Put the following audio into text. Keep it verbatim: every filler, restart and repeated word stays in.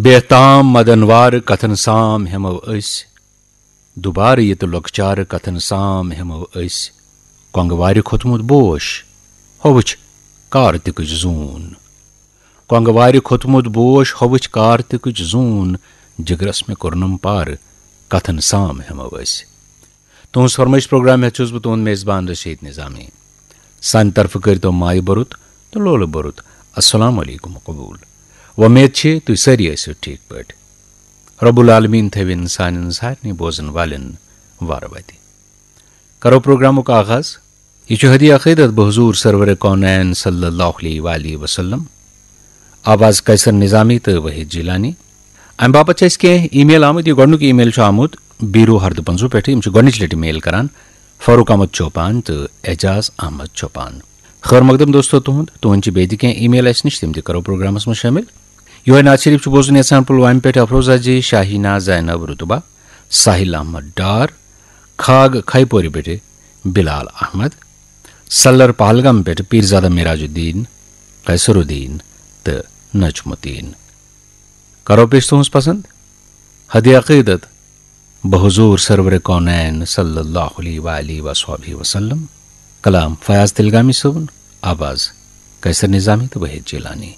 بے تام مدن وار کتھن سام ہٮ۪مو أسۍ۔ دوبارٕ یہِ تہٕ لۄکچارٕ کتھن سام ہٮ۪مو أسۍ۔ کۄنٛگہٕ وارِ کھوٚتمُت بوش، ہۄ وٕچھ کارتِکٕچ زوٗن۔ کۄنٛگہٕ وارِ کھوٚتمُت بوش، ہۄ وٕچھ کارتِکٕچ زوٗن۔ جگرس مےٚ کوٚرنم پارٕ، کتھن سام ہٮ۪مو أسۍ۔ تُہٕنٛز فرمٲیش پروگرام ہٮ۪تھ چھُس بہٕ تُہُنٛد میزبان رشید نظامی۔ سانہِ طرفہٕ کٔرۍتو مایہِ بوٚرُت تہٕ لولہٕ بوٚرُت السلام علیکم قبول۔ وۄمید چھِ تُہۍ سٲری ٲسِو ٹھیٖک پٲٹھۍ۔ رب العالمین تھٲوِن سانٮ۪ن سارنٕے بوزن والٮ۪ن وارٕ وتہِ۔ کرو پروگرامُک آغاز۔ یہِ چھُ ہدی عقیدت بحضور سرور کونین صلی اللہ علیہ وآلہ وسلم، آواز قیصر نظامی تہٕ وحید جیلانی۔ امہِ باپتھ چھِ اَسہِ کینٛہہ ای میل آمٕتۍ۔ یہِ گۄڈٕنیُک ای میل چھُ آمُت بیٖرو ہردٕ پنٛزوٗ پٮ۪ٹھٕ۔ یِم چھِ گۄڈٕنِچ لٹہِ میل کران فاروق احمد چوپان تہٕ اعجاز احمد چوپان۔ خٲر مقدم دوستو تُہُنٛد، تُہُنٛد چھِ بیٚیہِ تہِ کینٛہہ ای میل اَسہِ نِش، تِم تہِ کرو پروگرامس منٛز شٲمِل۔ یِہوٚے نعت شریف چھُ بوزُن یژھان پُلوامہِ پٮ۪ٹھ افروزہ جی، شاہینا زینب رتبہ، ساحل احمد ڈار، کھاگ کھے پورِ پٮ۪ٹھٕ بلال احمد، سلر پہلگام پٮ۪ٹھٕ پیرزادہ معراج الدین، قیصر الدین تہٕ نجم الدین۔ کرو پیش تُہٕنٛز پسند ہدی عقیدت بحضور سرور کونین صلی اللہ علیہ وآلہ وصحبہ وسلم۔ کلام فیاض تلگامی صٲبُن، آواز قیصر نظامی تہٕ وحید جیلانی۔